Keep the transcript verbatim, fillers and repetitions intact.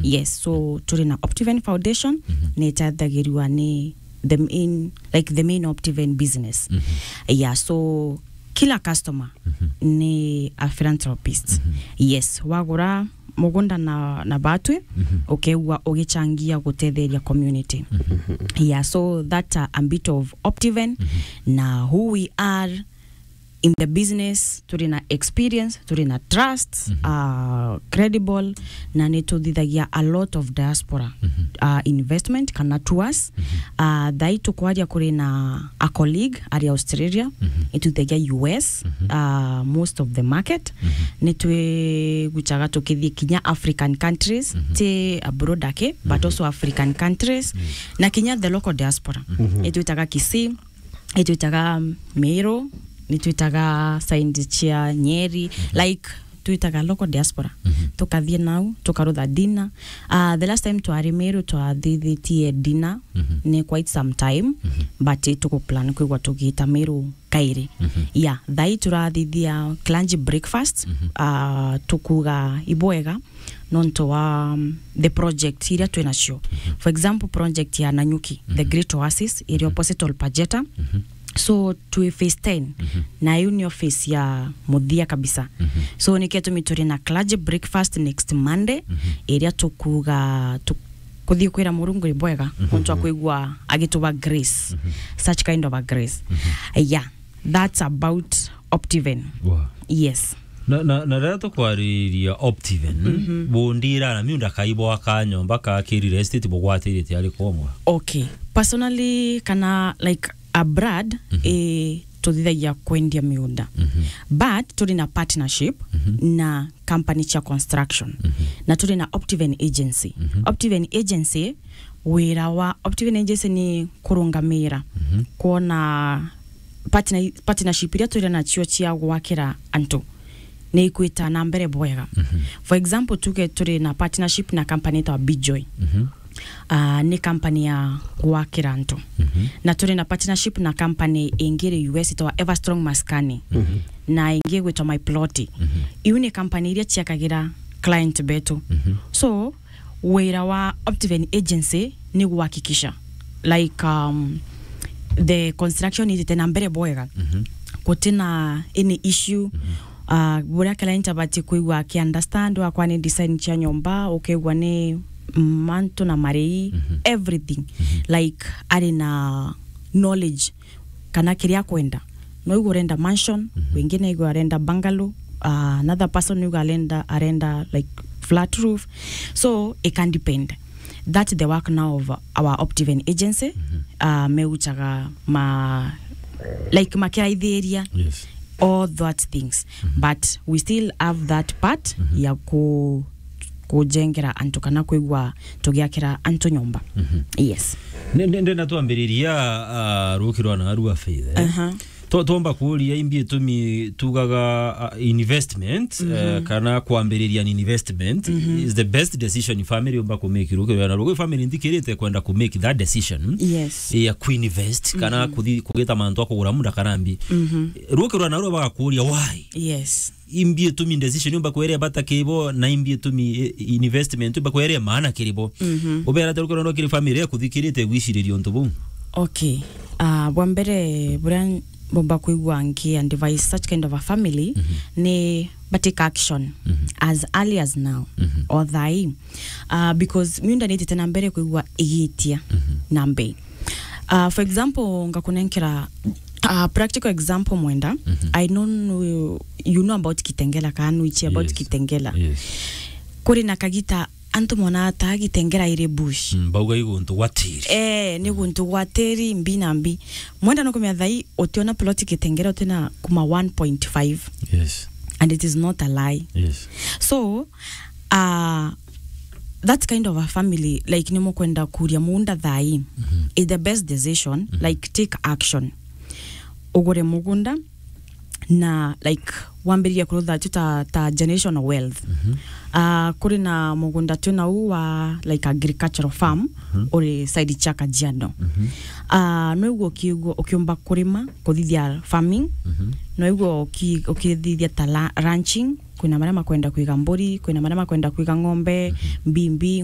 Yes, so turi na Optiven Foundation, ni itathagirua ni the main, like, the main Optiven business. Yeah, so kila customer ni a philanthropist. Yes, wagura mugunda na, na batwi, ukeegua ugichangia gutetheria community. Yeah, so that, uh, a bit of Optiven na who we are in the business, turi na experience, turi na trust, uh, credible, na ni tuthithagia a lot of diaspora, uh, investment kana tours. Uh, thai tukwaria kuri na a colleague ari Australia, itwithagia U S, uh, most of the market. Ni twigucaga tukithii kinya African countries, ti abroad ake, but also African countries, na kinya the local diaspora. Itwitaga Kisii, itwitaga Meru, nitwitaga side cia Nyeri, like, twitaga local diaspora. Tukathii nau, tukarutha dinner. Uh, the last time twari Meru twathithitie dinner, ni quite some time, but tukuplan kwigua tugiita Meru kairi. Yeah, thai turathithia clergy breakfast, uh, tukuga ibwega, nontu wa, um, the project iria twi nacio. For example, project ya Nanyuki, the Great Oasis, iri opposite Olpajeta. So, twi phase ten, na iu ni office ya muthia kabisa. So, nikio gitumi turi na clergy breakfast next Monday, iria tukuga tu-, kuthii kwira Murungu ni bwega, nontu wa kwigua agituba grace, such kind of a grace. Yeah, that's about Optiven. Wow. Yes. Na, na, na riria tukwariria Optiven, bundira na miunda kai bwaka nyomba ka ki real estate bugwatiritie ari komwa? Okay. Personally, kana, like, abroad, eh, tuthithagia kwendia miunda. But turi na partnership na company cia construction. Na turi na Optiven Agency. Optiven Agency, wira wa Optiven Agency ni kurungamira, kwona partner-, partnership iria turi nacio cia gwakira antu ni ikwita na mbere bwega. For example, tuge turi na partnership na company itagwa Bijoy. Ah, ni company ya gwakira antu. Na turi na partnership na company ingi iri U S itagwa Everstrong Maskani. Na ingi igwitwa My Plot. Iu ni company iria ciakagira client betu. So, wira wa Optiven Agency ni guhakikisha, like, um, the construction itite na mbere bwega. Gutina any issue. Ah, buria client abati kwigua aki understand, wakwa ni design cia nyomba, ukegua ni mantu na marei, everything. Like, ari na knowledge kana kiria akwenda. No igu urenda mansion, wingi na igu arenda bungalow, uh, another person igu arenda, arenda, like, flat roof. So, it can depend. That's the work now of our Optiven Agency. Uh, meuchaga ma, like, makiraithiria, yes, all that things. But we still have that part ya ku-, kujengera antu kana kwigua tugiakira antu nyomba. Yes. Ni, ni, ndenda twambiriria, ah, ruki rwa naru a Faith, eh? Aha. Twa-, twomba kuuria imbi itumi tugaga, ah, investment, eh, kana kwambiriria an investment is the best decision family umba ku make. Ruki rwa naru, family nthikirite kwenda ku make that decision, yes, ya ku invest, kana kuthi-, kugita mantu a kugura munda kana mbi. Ruki rwa naru bagakuuria why? Yes. Imbi itumi decision umba kwere bata kibo, na imbi itumi, eh, investment umba kwere maana kiribo. Ubera ati ruki rwa naru kiri family ya kuthikirite gwiciriria untu buu? Okay. Ah, bwa mbere, buria mbomba kwigua nki advise such kind of a family ni ba take action as early as now, or thai. Ah, because miunda nitite na mbere kwigua igitia na mbei. Ah, for example, ngakunenkera, ah, practical example mwenda. I know, you know about Kitengela, kana nuichi about Kitengela. Yes. Kuri na kagita antu mona ata Kitengela iri bush. Mm, bauga i guntu gwa tiri. Eh, ni guntu gwa tiri mbi na mbi. Mwenda no kumenya thai utiona plot Kitengela utina kuma one point five. Yes. And it is not a lie. Yes. So, uh, that kind of a family, like, ni mukwenda kuria munda thai, is the best decision, like, take action. Ugure mugunda, na, like, wambiririe kurutha tu ta, ta generational wealth. Ah, kuri na mugunda tu nau wa, like, agricultural farm, uri side cia Kajiado. Ah, no igua ukiigua, ukiumba kurima, kuthithia farming. No igua uki-, ukithithia ta la-, ranching, kwina maria makwenda kwiga mburi, kwina maria makwenda kwiga ng'ombe, mbimbi,